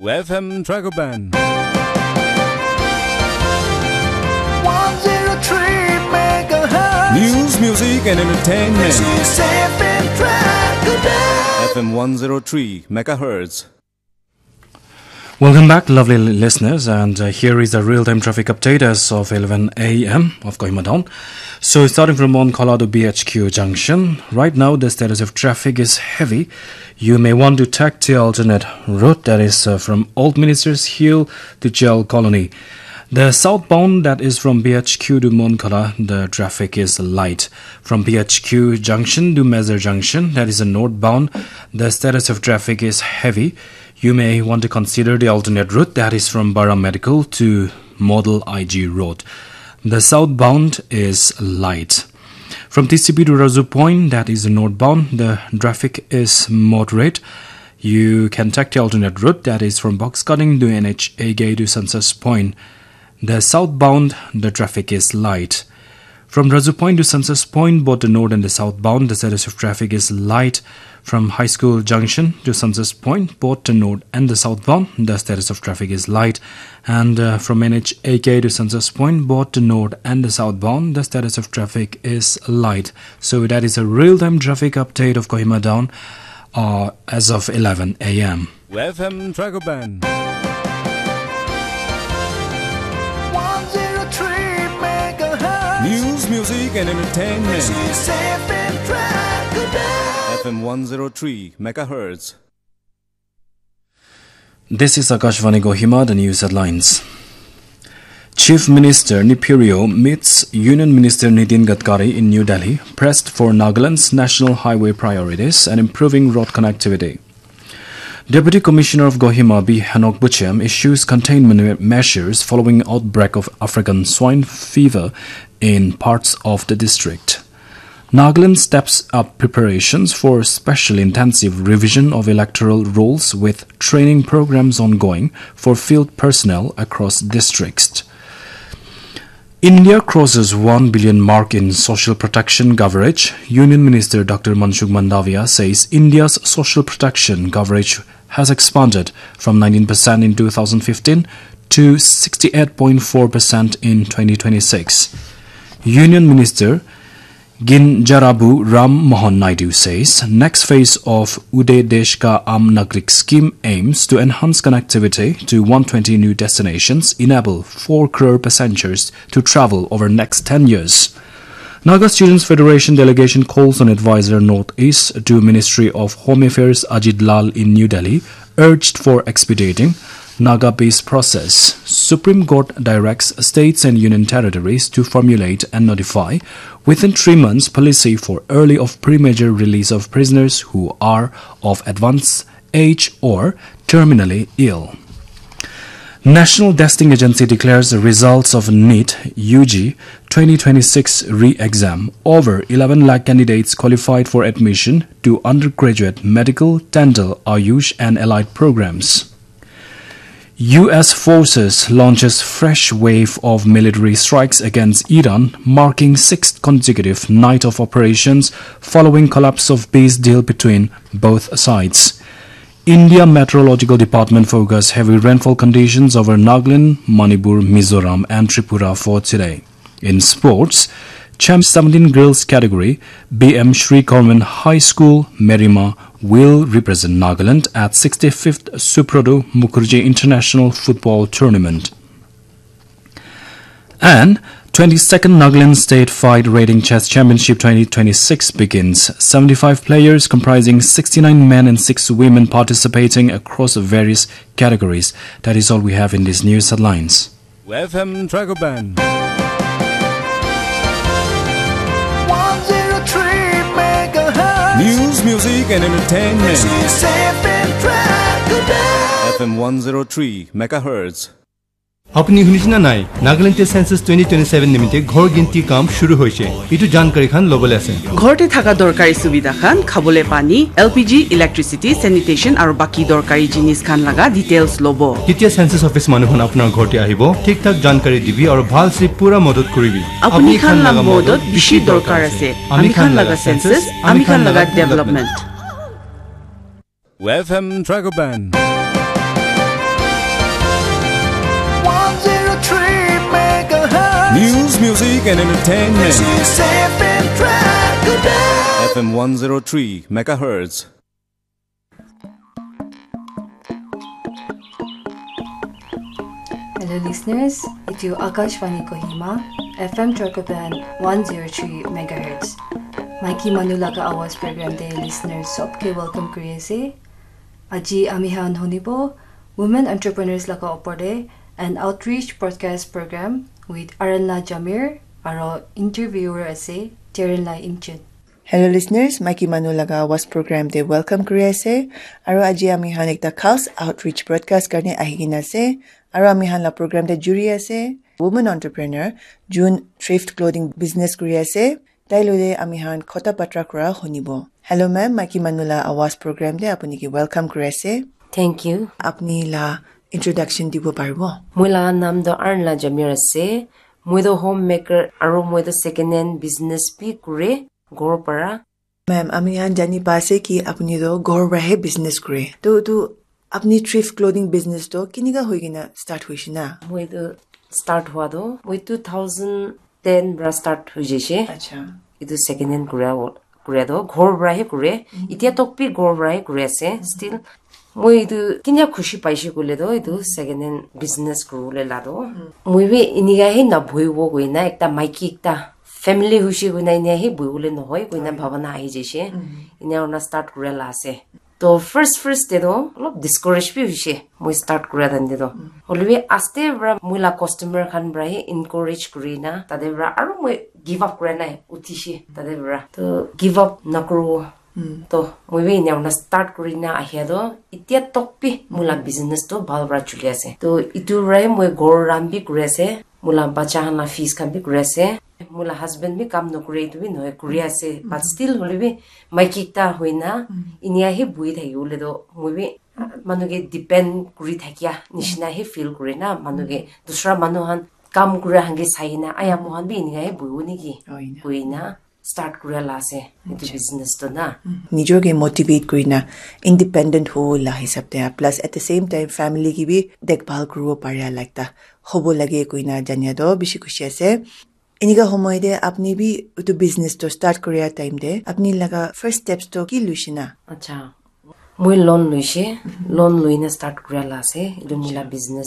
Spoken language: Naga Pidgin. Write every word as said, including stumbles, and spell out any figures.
F M Dragoban. one zero three megahertz. News, music, and entertainment. This is F M Dragoban. F M one zero three megahertz. Welcome back, lovely li- listeners, and uh, here is the real-time traffic update as of eleven a m of Kohima Town. So, starting from Monkhola to B H Q junction, right now the status of traffic is heavy. You may want to take the alternate route, that is uh, from Old Ministers Hill to Jail Colony. The southbound, that is from B H Q to Monkhola, the traffic is light. From B H Q junction to Mezar junction, that is a northbound, the status of traffic is heavy. You may want to consider the alternate route, that is from Bara Medical to Model I G Road. The southbound is light. From T C P to Razu Point, that is northbound, the traffic is moderate. You can take the alternate route, that is from Box Cutting to N H A K to Census Point. The southbound, the traffic is light. From Razu Point to Census Point, both the north and the southbound, the status of traffic is light. From High School Junction to Census Point, both the north and the southbound, the status of traffic is light. And uh, from N H A K to Census Point, both the north and the southbound, the status of traffic is light. So that is a real-time traffic update of Kohima Town uh, as of eleven a m. F M Dragoban. one zero three megahertz. News, music, and entertainment. This is F M Dragoban. F M one zero three megahertz. This is Akashvani Kohima, the news headlines. Chief Minister Neiphiu Rio meets Union Minister Nitin Gadkari in New Delhi, pressed for Nagaland's national highway priorities and improving road connectivity. Deputy Commissioner of Kohima B Henok Buchem issues containment me- measures following outbreak of African swine fever in parts of the district. Nagaland steps up preparations for special intensive revision of electoral rules with training programs ongoing for field personnel across districts. India crosses one billion mark in social protection coverage. Union Minister Doctor Mansukh Mandaviya says India's social protection coverage has expanded from nineteen percent in two thousand fifteen to sixty-eight point four percent in twenty twenty-six. Union Minister Kinjarapu Ram Mohan Naidu says next phase of Uday Desh Ka Aam Nagarik scheme aims to enhance connectivity to one twenty new destinations, enable four crore passengers to travel over next ten years. Naga Students Federation delegation calls on advisor Northeast to Ministry of Home Affairs Ajit Lal in New Delhi, urged for expediting Naga peace process. Supreme Court directs states and union territories to formulate and notify within three months policy for early of premature release of prisoners who are of advanced age or terminally ill. National Testing Agency declares the results of NEET U G twenty twenty-six re-exam. Over eleven lakh candidates qualified for admission to undergraduate, medical, dental, Ayush and allied programs. U S forces launches fresh wave of military strikes against Iran, marking sixth consecutive night of operations following collapse of peace deal between both sides. India Meteorological Department forecasts heavy rainfall conditions over Nagaland, Manipur, Mizoram and Tripura for today. In sports, Champ seventeen girls category, B M Sri Government High School, Merima, will represent Nagaland at sixty-fifth Subroto Mukherjee International Football Tournament. And twenty-second Nagaland State Fight Rating Chess Championship twenty twenty-six begins. Seventy-five players comprising sixty-nine men and six women participating across various categories. That is all we have in these news headlines. F M Dragoban. one zero three megahertz. News, music, and entertainment. This is F M Dragoban. F M one zero three megahertz. আপুনি শুনিছে নে নাই? নাগালেণ্ডে চেন্সাছ টুৱেণ্টি টুৱেণ্টি ছেভেন নিমিত্তে ঘৰ গিনতি কাম শুৰু হৈছে। এইটো জানকাৰী খান ল'বলৈ আছে। ঘৰতে থকা দৰকাৰী সুবিধা খান, খাবলৈ পানী, এল পি জি, ইলেক্ট্ৰিচিটি, চেনিটেশ্যন আৰু বাকী দৰকাৰী জিনিছ খান লগা ডিটেইলছ ল'ব। তেতিয়া চেন্সাছ অফিচ মানুহখন আপোনাৰ ঘৰতে আহিব, ঠিক ঠাক জানকাৰী দিবি আৰু ভাল চি পুৰা মদত কৰিবি। আপুনি খান লগা মদত বেছি দৰকাৰ আছে। আমি খান লগা চেন্সাছ, আমি খান লগা ডেভেলপমেণ্ট। F M Dragoban. News, music, and entertainment. F M one zero three megahertz. Hello listeners, itu Akashvani Kohima, F M Trarkopan one zero three megahertz. Maiki manu laga awaz program te listeners sobke welcome kuri ase. Aji ami han hunibo women entrepreneurs laga opor te an outreach broadcast program with Aranla Jamir aro interviewer ase Terenla Imchen. Hello listeners, Maiki Manu Laga Awaz program te welcome kuri ase. Aro aji ami han ekta khas outreach broadcast karne ahi kena ase. Aro ami han la program te juri ase woman entrepreneur, June thrift clothing business kuri ase. Tai lode ami han khota patra kura hunibo. Hello ma'am, Maiki Manu La Awaz program te apuni ki welcome kuri ase. Thank you. Apuni la introduction dibo paribo? Moi laga naam toh Arla Jamir ase. Moi toh homemaker aro moi toh second hand business bi kure, ghor para. Ma'am, ami khan jani pa ase ki apuni toh ghor para he business kure. To, to apuni thrift clothing business toh kinika hoi kena start hoise na? Moi toh start hua toh, moi two thousand ten para start hoi jaise. Acha. Etu second hand kura, kura toh ghor para he kure. Itya tok bi ghor para he kuri ase. Still, moi etu kinya khushi paise koile toh, etu second hand business kuribole la toh. Moi bi inika he na bohibo koina, ekta maiki ekta family hoise koina inika he bohibole nohoi koina bhabana ahi jaise. Ina kurina start kura la ase. To first, first te toh olop discourage bi hoise, moi start kura time te toh. Hoile bi aste para moi la customer khan para he encourage kuri na, tate para aro moi give up kura nai, uthise tate para. To give up nakuru. To moi bi ena kurina start kuri na ahia toh, itya tok bi moi la business toh bhal para chuli ase. To itu para he moi ghor run bi kuri ase, moi la bacha khan la fees khan bi kuri ase. Moi la husband bi kam nokure, itu bi nohoi, kuri ase. But still hoile bi maiki ekta hoina inia he buhi thaki bole toh moi bi manu ke depend kuri thakia nishina he feel kure na, manu ke dusra manu khan kam kura khan ke sai na, aya moi khan bi inika he buhibo niki? Hoi na. Koi na start kura la ase etu business toh na. Nijor ke motivate kuri na independent hobo la hisab te, plus at the same time family ke bi dekbhal kuribo paria la ekta hobo lage koina jania toh bishi khushi ase. Enika homoy te apni bi etu business toh start kuria time te apni laga first steps toh ki luishe na? Acha, moi loan luishe, loan lui na start kuria la ase etu moi la business.